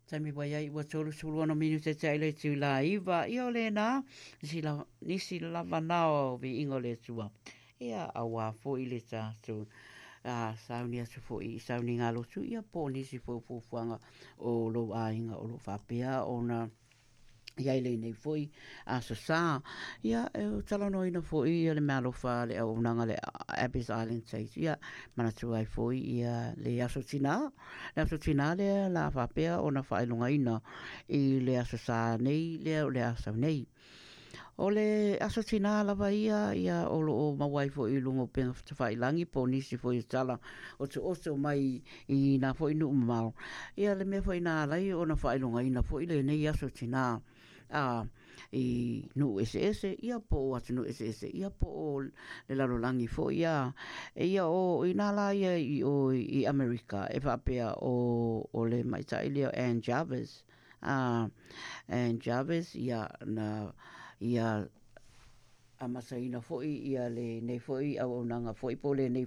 Taimi ua iai ua 36 minute te aile tu la iva ia o lena nisi lava, nisi lava na o viiga o le Atua ia auā foi le tatou a sauni atu foi i sauniga lotu ia po o nisi foi o fuafuaga o lou aiga o lo o faapea ona i ai lenei foi aso sa. Ia, e talanoaina foi ia le meaalofa a le auaunaga le Abbey's Island Chase. Ia, manatua ai foi ia le aso tinā. Le aso tinā lea la faapea ona faailogaina i le aso sa nei lea o le a sau nei. O le aso tinā lava ia, ia o lo o maua ai foi i luga o upega tafailangi po o nisi foi o tala otooto mai i nā foi nuu mamao. Ia le mea foi na ala ai ona faailogaina foi lenei aso tinā a i nuu eseese, ia po o atunuu eseese, ia po o le lalolagi foi ia. Ia o i nā la ia i o i Amerika e faapea o, o le maitaʻi lea o Ann Jarvis, a Ann Jarvis ia na ia amataina foi ia lenei foi auaunaga foi po o lenei.